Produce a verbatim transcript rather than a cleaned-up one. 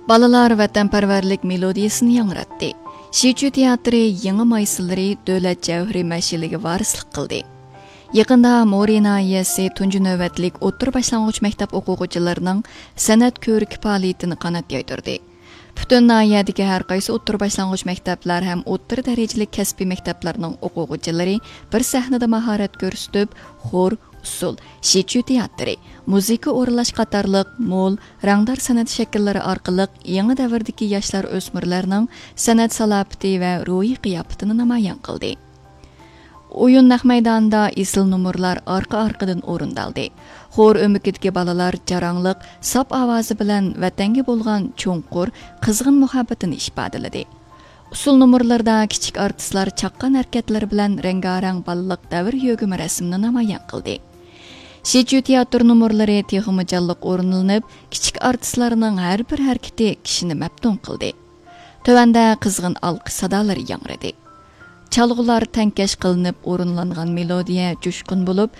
بالىلار ۋەتەنپەرۋەرلىك مېلودىيىسىنى ياڭراتتى. شىچۈ تىياتىرى يېڭى مايسىلىرى دۆلەت جەۋھىرى مەشئىلىگە ۋارىسلىق قىلدى. يېقىندا مورى ناھىيەسى تۇنجى نۆۋەتلىك ئوتتۇرا باشلانغۇچ مەكتەپ ئوقۇغۇچىلىرىنىڭ سەنئەت كۆرىكى پائالىيىتىنى قانات يايدۇردى. پۈتۈن ناھىيەدىكى ھەر قايسى ئوتتۇرا باشلانغۇچ مەكتەپلەر ھەم ئوتتۇرا دەرىجىلىك كەسپىي مەكتەپلەرنىڭ ئوقۇغۇچىلىرى بىر سەھنىدە ماھارەت كۆرسىتىپ، خور، ئۇسسۇل، شىچۈ تىياتىرى، مۇزىكا ئورۇنلاش قاتارلىق مول، رەڭدار سەنئەت شەكىللىرى ئارقىلىق يېڭى دەۋردىكى ياشلار، ئۆسمۈرلەرنىڭ سەنئەت سالاپىتى ۋە روھىي قىياپىتىنى نامايان قىلدى. ئويۇن نەق مەيدانىدا ئېسىل نومۇرلار ئارقا-ئارقىدىن ئورۇندالدى. خور ئۆمىكىدىكى بالىلار جاراڭلىق، ساپ ئاۋازى بىلەن ۋەتەنگە بولغان چوڭقۇر، قىزغىن مۇھەببىتىنى ئىپادىلىدى. ئۇسسۇل نومۇرلىرىدا كىچىك ئارتىسلار چاققان ھەرىكەتلىرى بىلەن رەڭگارەڭ بالىلىق دەۋر يۆگىمە رەسىمىنى نامايان قىلدى. شىچۈ تىياتىر نومۇرلىرى تېخىمۇ جانلىق ئورۇنلىنىپ، كىچىك ئارتىسلارنىڭ ھەر بىر ھەرىكىتى كىشىنى مەپتۇن قىلدى. تۆۋەندە قىزغىن ئالقىش سادالىرى ياڭرىدى. چالغۇلار تەڭكەش قىلىنىپ ئورۇنلانغان مېلودىيە جۇشقۇن بولۇپ،